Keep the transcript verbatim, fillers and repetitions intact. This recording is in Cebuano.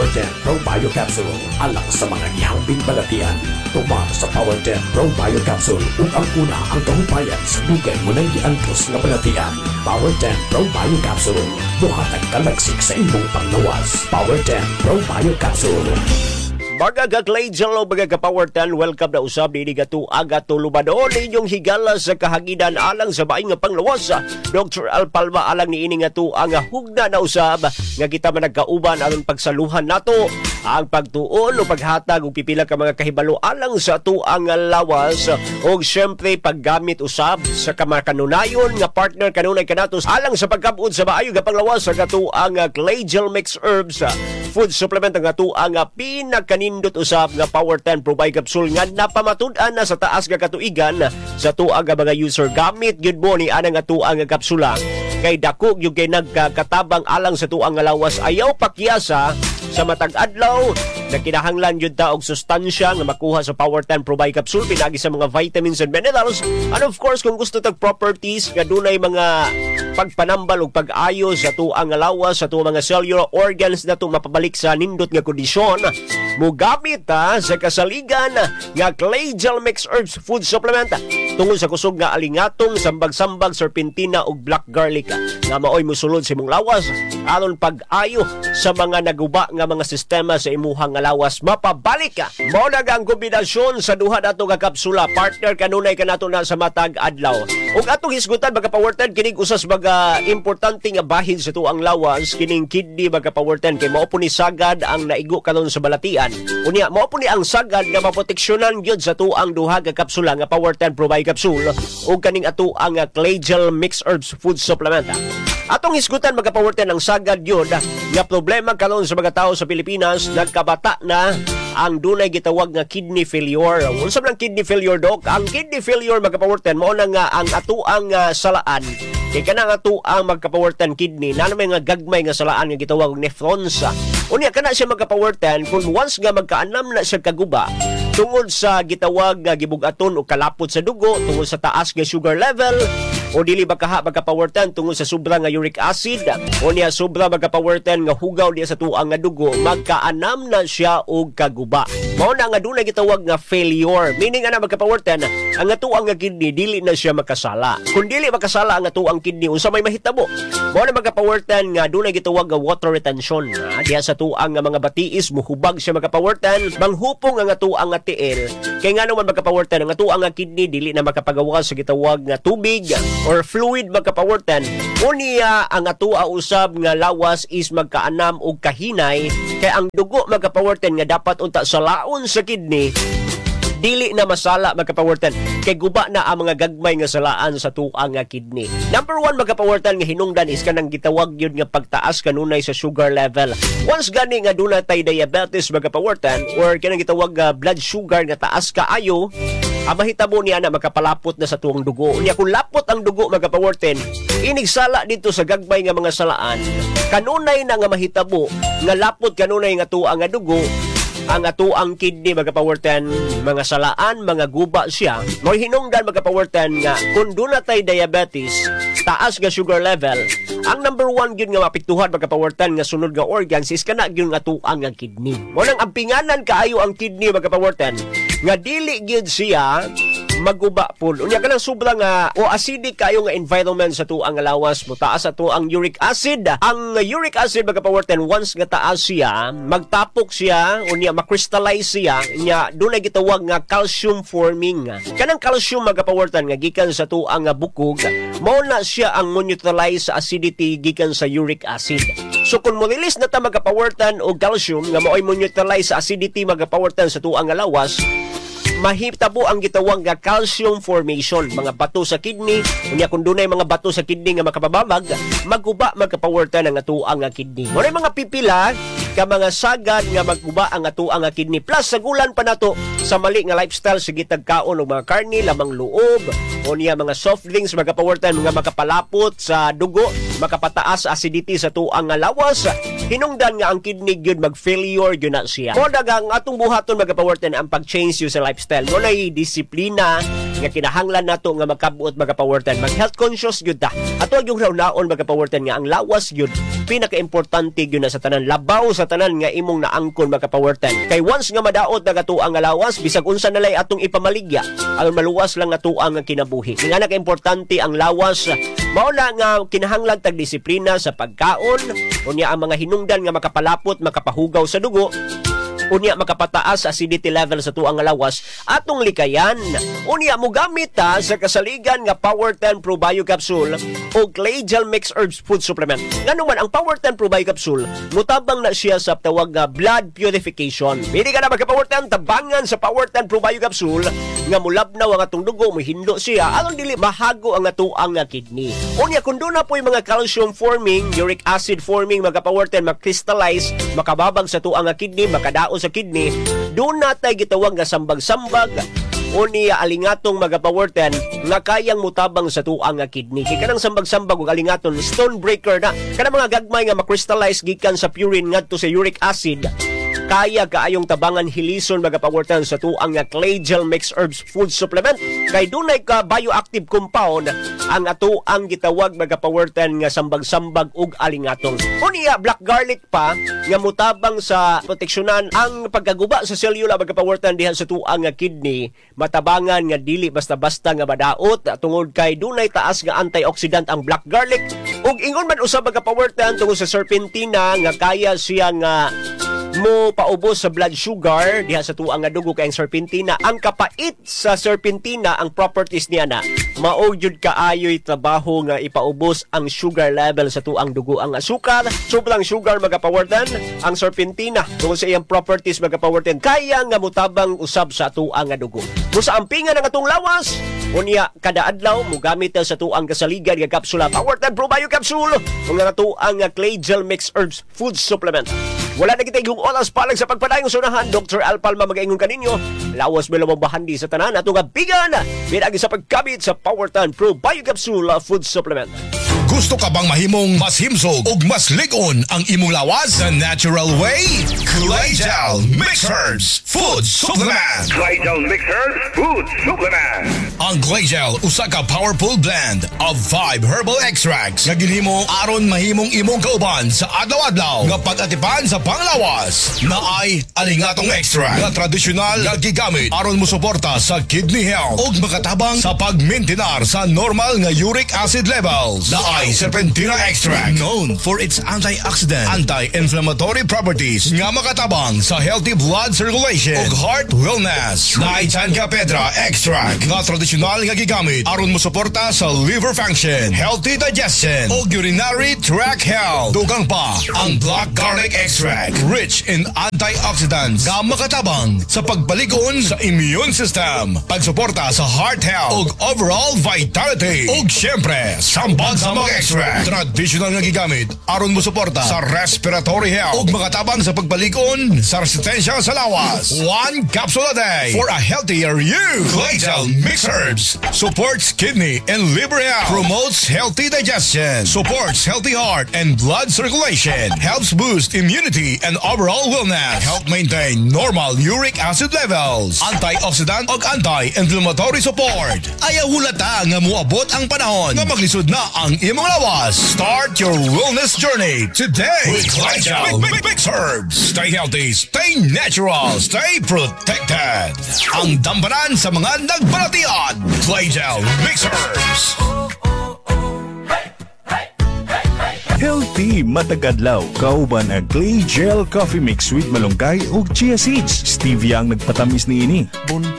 Power ten Pro Bio Capsule alang sa mga gihambing balatian. Tuma sa Power ten Pro Bio Capsule ug angkona ang kahupayan sa dugay mo nang giantos nga balatian. Power ten Pro Bio Capsule, muhatag kalagsik sa imong panglawas. Power ten Pro Bio Capsule. Mga ka-Clayjel o mga ka-Power ten, welcome na usab dinhi kato aga tulubadon inyong higala sa kahanginan alang sa maayong nga panglawas. Doctor Al Palma alang niini nga tuang hugna na usab nga kita man nagkauban aron pagsaluhan nato ang pagtuon o paghatag og pipila ka mga kahibalo alang sa tuang lawas og syempre paggamit usab sa kamakanunayon nga partner kanunay kanato alang sa pagkabud sa maayo nga panglawas sa katuang Clayjel Mix Herbs food supplement, ang atuang pinakanindot usab nga Power ten Probiotic Capsule nga napamatud-an na sa taas nga katuigan sa tuang nga mga user. Gamit gyud mo ni anang atuang nga kapsula kay dako gyud kay nagkatabang alang sa tuang nga lawas. Ayaw pakyasa sa matag adlaw na kinahanglan gyud ta og sustansya nga makuha sa Power ten Probiotic Capsule pinagi sa mga vitamins and minerals, and of course kung gusto tag properties nga dunay mga pagpanambal ug pag-ayo sa tuang nga lawas, sa tuang mga cellular organs nato mapabalik sa nindot nga kondisyon, mugamit ta sa kasaligan nga Clayjel Mix Herbs Food Supplement tungod sa kusog nga alingatong, sambag-sambag, serpentina ug black garlic nga maoy musulod sa imong lawas aron pag-ayo sa mga naguba nga mga sistema sa imuhang nga lawas mapabalik ka. Mao na ang kombinasyon sa duha nato nga kapsula, partner kanunay kanato na sa matag adlaw. Ug atong hisgutan, mga Power ten, kining usas mga importante nga bahin sa tuang lawas, kining kidney, mga Power ten, kay mao po ni sagad ang naigo karon sa balatian. Unya mao po ni ang sagad nga maproteksyonan gyud sa tuang duha ka kapsula nga Power ten Probiotic Capsule ug kaning atuang Clayjel Mix Herbs Food Supplement. Atong hisgutan, mga Power ten, ang sagad yun nga problema karon sa mga tao sa Pilipinas, nagkabata na ang dunay gitawag nga kidney failure. Unsa man ang kidney failure, dok? Ang kidney failure, mga Power ten, mao na nga ang atuang uh, salaan. Kay kanang atuang, mga Power ten, kidney, na may nga gagmay nga salaan nga gitawag og nephrons. Unya kana siya, mga Power ten, kung once nga magkaanam na siya kaguba tungod sa gitawag nga gibugaton o kalapot sa dugo tungod sa taas nga sugar level, o dili ba kaha, mga Power ten, tungod sa sobra nga uric acid, o niya sobra, mga Power ten, nga hugaw diya sa tuang nga dugo, magkaanam na siya og kaguba. Mao na nga dunay gitawag nga failure, meaning ana, mga Power ten, ang atuang nga kidney dili na siya makasala. Kung dili makasala ang atuang kidney, unsa may mahitabo? Mao na, mga Power ten, nga dunay gitawag nga water retention ha, diya sa tuang nga mga batiis, muhubag siya, mga Power ten, manghupong ang atuang nga tiil. Kay nga naman, mga Power ten, ang atuang nga kidney dili na makapagawa sa gitawag nga tubig or fluid, mga Power ten. Unya ang atua usab nga lawas is magkaanam og kahinay kay ang dugo, mga Power ten, nga dapat unta salaon sa kidney dili na masala, mga Power ten, kay guba na ang mga gagmay nga salaan sa tuang nga kidney. Number one, mga Power ten, nga hinungdan is kanang gitawag yun nga pagtaas kanunay sa sugar level. Once gani nga duna tay diabetes, mga Power ten, or kanang gitawag nga blood sugar nga taas kaayo, ang mahitabo niya na makapalapot na sa tuang dugo. Unya kung lapot ang dugo, mga Power ten, inigsala dito sa gagmay nga mga salaan, kanunay na nga mahitabo nga lapot kanunay nga tuang nga dugo, ang atuang kidney, mga Power ten, mga salaan, mga guba siya. Mo hinungdan, mga Power ten, nga kung duna tay diabetes, taas nga sugar level, ang number one gyud nga mapiktuhan, mga Power ten, nga sunod nga organs is kana gyud nga atuang nga kidney. Mo nang ampinganan kaayo ang kidney, mga Power ten, nga dili gyud siya maguba po. Unya kanang sobra nga o acidic kayo nga environment sa tuang nga lawas, motaas ato ang uric acid. Ang uric acid, mga Power ten, once nga taas siya, magtapok siya, unya ma-crystallize siya, nya dunay gitawag nga calcium forming. Kanang calcium, mga Power ten, nga gikan sa tuang nga bukog, mao na siya ang mo-neutralize sa acidity gikan sa uric acid. So kung mo release na ta, mga Power ten, og calcium nga maoy mo neutralize sa acidity, mga Power ten, sa tuang nga lawas, mahitabo ang gitawag nga calcium formation, mga bato sa kidney. Unya kung dunay mga bato sa kidney nga makapababag, maguba, mga Power ten, ang atuang nga kidney. Mo mga pipila ka mga sagad nga magguba ang atuang nga kidney. Plus sagulan pa nato sa mali nga lifestyle, sige tagkaon og mga karne, lamang loob, o niya mga soft drinks, mga Power ten, mga makapalapot sa dugo, makapataas sa acidity sa tuang nga lawas. Hinungdan nga ang kidney gyud mag-failure gyud na siya. Mo ang atong buhaton, mga Power ten, ang pag-change yun sa lifestyle. Mo na disiplina Nga kinahanglan nato nga magkabuot, mga Power ten. Mag health conscious gyud ta. Ato yung hunaon, mga Power ten, nga ang lawas gyud pinaka-importante gyud na sa tanan, labaw sa tanan nga imong naangkon, mga Power ten. Kay once nga madaot na kato ang nga lawas, bisag unsa na lay atong ipamaligya, aron maluwas lang ato ang kinabuhi. Nga naka-importante ang lawas, mao na nga kinahanglan tag disiplina sa pagkaon, unya ang mga hinungdan nga makapalapot, makapahugaw sa dugo, unya makapataas sa acidity level sa tuang nga lawas, atong likayan. Unya mogamit ta sa kasaligan nga Power ten Pro Bio Capsule o Clay Gel Mix Herbs Food Supplement. Ngano man ang Power ten Pro Bio Capsule mutabang na siya sa tawag nga blood purification. Pili ka na, magka Power ten, tabangan sa Power ten Pro Bio Capsule nga mulabnaw ang atong dugo, muhindo siya aron dili mahago ang atuang nga kidney. Unya kung doon na po yung mga calcium forming, uric acid forming, mga Power ten, makrystallize, makababag sa tuang nga kidney, makadao sa kidney, doon na tayo gitawag nga sambag-sambag o niya alingatong, mga Power ten, nga kayang mutabang sa tuang nga kidney. Kay kanang sambag-sambag ug alingaton, stone breaker na. Kanang mga gagmay nga makrystallize gikan sa purine ngadto sa uric acid, kaya kaayong tabangan hilison, mga Power ten, sa tuang nga Clay Gel Mix Herbs Food Supplement kay dunay ka bioactive compound ang ato ang gitawag, mga Power ten, nga sambag-sambag ug alingatong. Unya black garlic pa nga mutabang sa proteksyonan ang pagkaguba sa selula, mga Power ten, diha sa tuang nga kidney, matabangan nga dili basta-basta nga madaot tungod kay dunay taas nga antioxidant ang black garlic. Ug ingon man usab, mga Power ten, tungod sa serpentina nga kaya siya nga mo paubos sa blood sugar diha sa tuang nga dugo, kay ang serpentina, ang kapait sa serpentina, ang properties niya na mao jud kaayoy trabaho nga ipaubos ang sugar level sa tuang dugo, ang asukar, sobrang sugar, mga Power ten. Ang serpentina, tungod sa iyang properties, mga Power ten, kaya nga mutabang usab sa tuang nga dugo mo sa ampingan ng atong lawas. Unya kada adlaw mogamit ta sa tuang kasaligan nga kapsula Power ten Pro Bio Capsule ug ang tuang nga Clay Gel Mix Herbs Food Supplement. Wala na kita igong oras palag sa pagpadayong sunahan. Doctor Al Palma magaingon kaninyo. Lawas mo lamang bahandi sa tanan ato nga bigan. Pinagi sa pagkabit sa Power ten Pro Bio Capsule Food Supplement. Gusto ka bang mahimong mas himsog ug mas lig-on ang imong lawas the natural way? Clay Gel Mix Herbs Food Supplement. Glycol Mix Herbs Food Supplement. Ang Clay Gel usa ka powerful blend of five herbal extracts nga ginhimo aron mahimong imong kauban sa adlaw-adlaw nga pag-atipan sa panglawas. Naay alingatong extract nga tradisyonal nga gigamit aron mosuporta sa kidney health ug makatabang sa pagmaintenar sa normal nga uric acid levels. Naay serpentina extract known for its antioxidant, anti-inflammatory properties nga makatabang sa healthy blood circulation ug heart wellness. Naay Chanca Pedra extract nga tradisyonal nga gigamit aron mosuporta sa liver function, healthy digestion ug urinary tract health. Dugang pa ang black garlic extract rich in antioxidants nga makatabang sa pagpalig-on sa immune system, pagsuporta sa heart health ug overall vitality. Ug syempre, sambag-sambag extract traditional nga gigamit aron mosuporta sa respiratory health ug makatabang sa pagpalig-on sa resistensya sa lawas. One capsule a day for a healthier you. Claytel Mix Herbs supports kidney and liver health, promotes healthy digestion, supports healthy heart and blood circulation, helps boost immunity and overall wellness, help maintain normal uric acid levels, antioxidant ug anti-inflammatory support. Ayaw hulata nga muabot ang panahon nga maglisod na ang imong lawas. Start your wellness journey today with Claytel Mix Herbs. Stay healthy, stay natural, stay protected. Ang damparan sa mga nagbalatian. Claytel Mix Herbs. Healthy matag adlaw. Kauban ang Clay Gel Coffee Mix with malunggay ug chia seeds. Stevia ang nagpatamis niini. Buntag